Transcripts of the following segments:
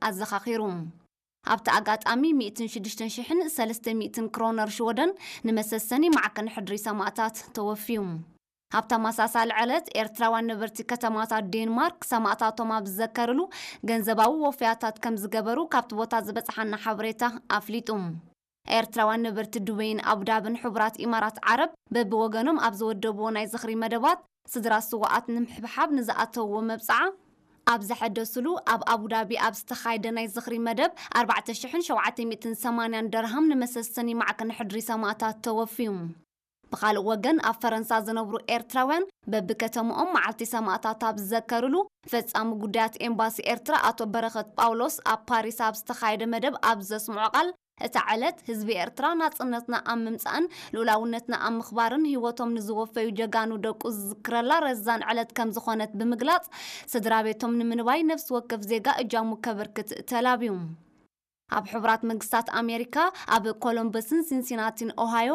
ኣዘኻኺሩ። ኣብቲ ኣጋጣሚ ሚእትን ሽዱሽተን ሽሕን ሰለስተ ሚእትን ክሮነር ሽወደን ንመሰሰኒ ማዕከን ሕድሪ ሰማእታት ተወፍዩ። ኣብ ተመሳሳሊ ዕለት ኤርትራውያን ነበርቲ ከተማታት ዴንማርክ ሰማእታቶም ኣብ ዝዘከርሉ ገንዘባዊ ወፍያታት ከም ዝገበሩ ካብቲ ቦታ ዝበጽሓና ሓበሬታ ኣፍሊጡ። ኤርትራውያን ነበርቲ ዱበይን ኣቡዳብን ሕቡራት ኢማራት ዓረብ በብወገኖም ኣብ ዝወደብዎ ናይ ዝኽሪ መደባት ስድራ ስውኣት ንምሕብሓብ ንዝኣተውዎ መብጽዓ ኣብ ዘሐደሱሉ ኣብ ኣቡዳቢ ኣብ ዝተኻየደ ናይ ዝኽሪ መደብ ኣርባዕተ ሽሕን ሸውዓተ ሚእትን ሰማንያን ደርሃም ንመሰሰኒ ማዕከን ሕድሪ ሰማእታት ተወፍዩ። ብኻልእ ወገን ኣብ ፈረንሳ ዝነብሩ ኤርትራውያን በብከተምኦም መዓልቲ ሰማእታት ኣብ ዝዘከርሉ ፈጻሚ ጉዳያት ኤምባሲ ኤርትራ ኣቶ በረኸት ጳውሎስ ኣብ ፓሪስ ኣብ ዝተኻየደ መደብ ኣብ ዘስምዖ ቃል እታ ዕለት ህዝቢ ኤርትራ ናጽነትና ኣብ ምምጻእን ልኡላውነትና ኣብ ምኽባርን ህይወቶም ንዝወፈዩ ጀጋኑ ደቁ ዝዝክረላ ረዛን ዕለት ከም ዝኾነት ብምግላጽ ስድራ ቤቶም ንምንባይ ነፍሲ ወከፍ ዜጋ እጃሙ ከበርክት ተላብዩ። ኣብ ሕቡራት መንግስታት ኣሜሪካ ኣብ ኮሎምበስን ሲንሲናቲን ኦሃዮ፣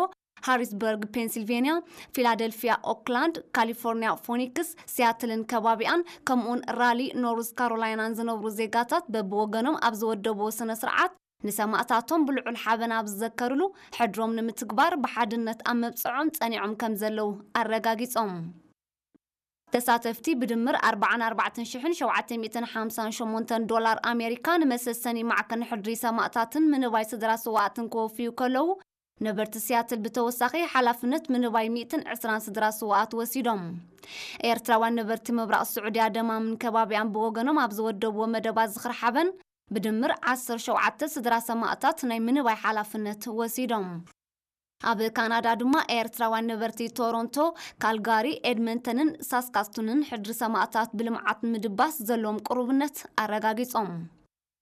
ሃሪስበርግ ፔንሲልቬንያ፣ ፊላደልፊያ ኦክላንድ፣ ካሊፎርኒያ ፎኒክስ፣ ሲያትልን ከባቢኣን ከምኡውን ራሊ ኖርዝ ካሮላይናን ዝነብሩ ዜጋታት በብወገኖም ኣብ ዝወደብዎ ስነ ስርዓት ንሰማእታቶም ብልዑል ሓበን ኣብ ዝዘከርሉ ሕድሮም ንምትግባር ብሓድነት ኣብ መብጽዖም ጸኒዖም ከም ዘለዉ ኣረጋጊጾም። ተሳተፍቲ ብድምር ኣርባዓን ኣርባዕተን ሽሕን ሸውዓተ ሚእትን ሓምሳን ሸሞንተን ዶላር ኣሜሪካ ንመሰሰኒ ማዕከን ሕድሪ ሰማእታትን ምንባይ ስድራ ስውኣትን ክወፍዩ ከለዉ ነበርቲ ሲያትል ብተወሳኺ ሓላፍነት ምንባይ ሚእትን ዕስራን ስድራ ስውኣት ወሲዶም። ኤርትራውያን ነበርቲ ምብራቕ ስዑድያ ደማምን ከባቢኣን ብወገኖም ኣብ ዝወደብዎ መደባት ዝኽሪ ሓበን ብድምር ዓሰርተ ሸውዓተ ስድራ ሰማእታት ናይ ምንባይ ሓላፍነት ወሲዶም። ኣብ ካናዳ ድማ ኤርትራውያን ነበርቲ ቶሮንቶ፣ ካልጋሪ፣ ኤድመንተንን ሳስካስቱንን ሕድሪ ሰማእታት ብልምዓት ምድባስ ዘለዎም ቅሩብነት ኣረጋጊጾም።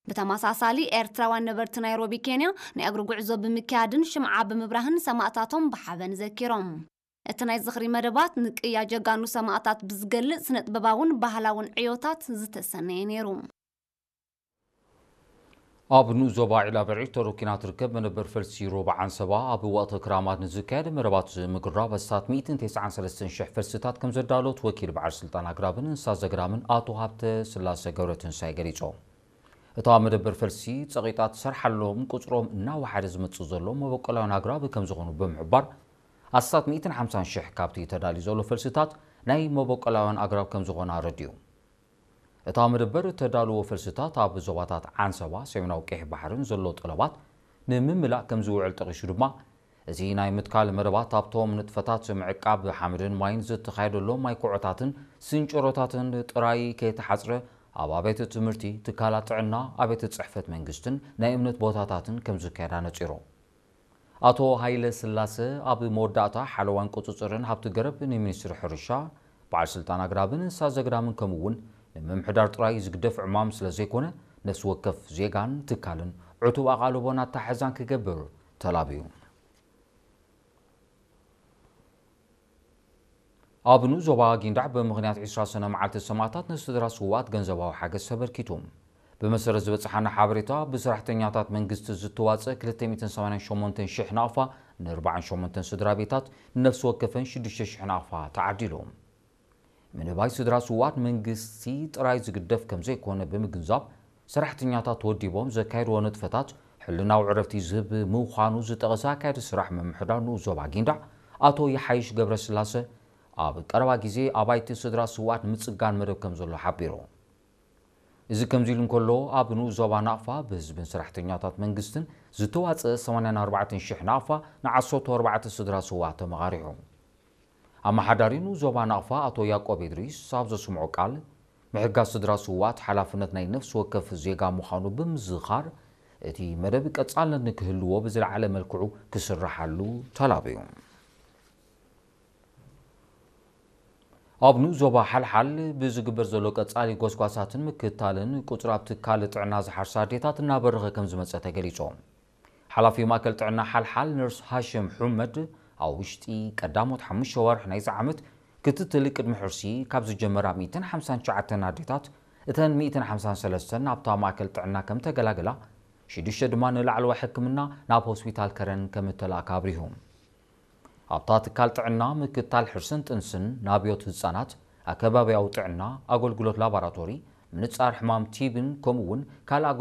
ብተመሳሳሊ ኤርትራውያን ነበርቲ ናይሮቢ ኬንያ ናይ እግሪ ጉዕዞ ብምክያድን ሽምዓ ብምብራህን ሰማእታቶም ብሓበን ዘኪሮም። እቲ ናይ ዝኽሪ መደባት ንቅያ ጀጋኑ ሰማእታት ብዝገልጽ ስነ ጥበባውን ባህላውን ዕዮታት ዝተሰነየ ነይሩ። ኣብ ንኡስ ዞባ ዒላበርዒ ተሮኪና ትርከብ መደበር ፈልሲ ሮባ ዓንሰባ ኣብ ወቕቲ ክራማት ንዝካየድ መደባት ምግራብ ኣስታት ሚእትን ተስዓን ሰለስተን ሽሕ ፈልስታት ከም ዘዳሎት ወኪል በዓል ስልጣን ኣግራብን እንስሳ ዘግራምን ኣቶ ሃብተ ስላሰ ገብረትንሳኤ ገሊጾም። እታ መደበር ፈልሲ ጸቒጣ ትሰርሓሎም ቁጽሮም እናወሓደ ዝመጽእ ዘሎ መበቆላውያን ኣግራብ ከም ዝኾኑ ብምሕባር ኣስታት ሚእትን ሓምሳን ሽሕ ካብቲ ተዳልዩ ዘሎ ፈልስታት ናይ መበቆላውያን ኣግራብ ከም ዝኾነ ኣረዲኡ። እታ መደበር እተዳልዎ ፈልስታት ኣብ ዞባታት ዓንሰባ ሰሜናዊ ቀይሕ ባሕርን ዘሎ ጠለባት ንምምላእ ከም ዝውዕል ጠቒሱ ድማ እዚ ናይ ምትካል መደባት ኣብቶም ንጥፈታት ምዕቃብ ሓመድን ማይን ዝተኻየደሎም ማይ ኩዖታትን ስንጭሮታትን ጥራይ ከይተሓጽረ ኣብ ኣብያተ ትምህርቲ፣ ትካላት ጥዕና፣ ኣብያተ ጽሕፈት መንግስትን ናይ እምነት ቦታታትን ከም ዝካየድ ኣነጺሩ። ኣቶ ሃይለ ስላሰ ኣብ መወዳእታ ሓለዋን ቁጽጽርን ሃብቲ ገረብ ንሚኒስትሪ ሕርሻ በዓል ስልጣን ኣግራብን እንስሳ ዘግራምን ከምኡ እውን ንምምሕዳር ጥራይ ዝግደፍ ዕማም ስለ ዘይኮነ ነፍሲ ወከፍ ዜጋን ትካልን ዕቱብ ኣቓልቦን ኣተሓሕዛን ክገብር ተላብዩ። ኣብ ንኡስ ዞባ ጊንዳዕ ብምኽንያት ዕስራ ሰነ መዓልቲ ሰማእታት ንስድራ ስውኣት ገንዘባዊ ሓገዝ ተበርኪቱ። ብመሰረት ዝበጽሓና ሓበሬታ ብሰራሕተኛታት መንግስቲ ዝተዋጸ ክልተ ሚእትን ሰማንያን ሸሞንተን ሽሕ ናቕፋ ን ኣርባዓን ሸሞንተን ስድራ ቤታት ንነፍሲ ወከፈን ሽዱሽተ ሽሕ ናቕፋ ተዓዲሉ። ምንባይ ስድራ ስውኣት መንግስቲ ጥራይ ዝግደፍ ከም ዘይኮነ ብምግንዛብ ሰራሕተኛታት ተወዲቦም ዘካየድዎ ንጥፈታት ሕልናዊ ዕረፍቲ ዝህብ ምዃኑ ዝጠቐሰ ኣካያዲ ስራሕ ምምሕዳር ንኡስ ዞባ ጊንዳዕ ኣቶ ይሓይሽ ገብረስላሰ ኣብ ቀረባ ግዜ ኣባይቲ ስድራ ስውኣት ንምጽጋን መደብ ከም ዘሎ ሓቢሩ። እዚ ከምዚ ኢሉ እንከሎ ኣብ ንኡስ ዞባ ናቕፋ ብህዝብን ሰራሕተኛታት መንግስትን ዝተዋጸ ሰማንያን ኣርባዕተን ሽሕ ናቕፋ ንዓሰርተ ኣርባዕተ ስድራ ስውኣት ተመቓሪሑ። ኣመሓዳሪ ንኡስ ዞባ ናቕፋ ኣቶ ያቆብ ኢድሪስ ኣብ ዘስምዖ ቃል ምሕጋዝ ስድራ ስውኣት ሓላፍነት ናይ ነፍሲ ወከፍ ዜጋ ምዃኑ ብምዝኻር እቲ መደብ ቀጻልነት ንክህልዎ ብዝለዓለ መልክዑ ክስርሓሉ ተላብዩ። ኣብ ንኡስ ዞባ ሓልሓል ብዝግበር ዘሎ ቀጻሊ ጎስጓሳትን ምክትታልን ቁጽሪ ኣብ ትካል ጥዕና ዝሓርሳ ኣዴታት እናበረኸ ከም ዝመጸ ተገሊጹ። ሓላፊ ማእከል ጥዕና ሓልሓል ነርስ ሃሽም ሑመድ ኣብ ውሽጢ ቀዳሞት ሓሙሽተ ወርሒ ናይዚ ዓመት ክትትል ቅድሚ ሕርሲ ካብ ዝጀመራ ሚእትን ሓምሳን ትሽዓተን ኣዴታት እተን ሚእትን ሓምሳን ሰለስተን ናብታ ማእከል ጥዕና ከም ተገላገላ ሽዱሽተ ድማ ንላዕለዋይ ሕክምና ናብ ሆስፒታል ከረን ከም እተላእካ ኣብሪሁ። ኣብታ ትካል ጥዕና ምክትታል ሕርስን ጥንስን ናብዮት ህጻናት ኣከባቢያዊ ጥዕና ኣገልግሎት ላቦራቶሪ ምንጻር ሕማም ቲብን ከምኡ እውን ካልእ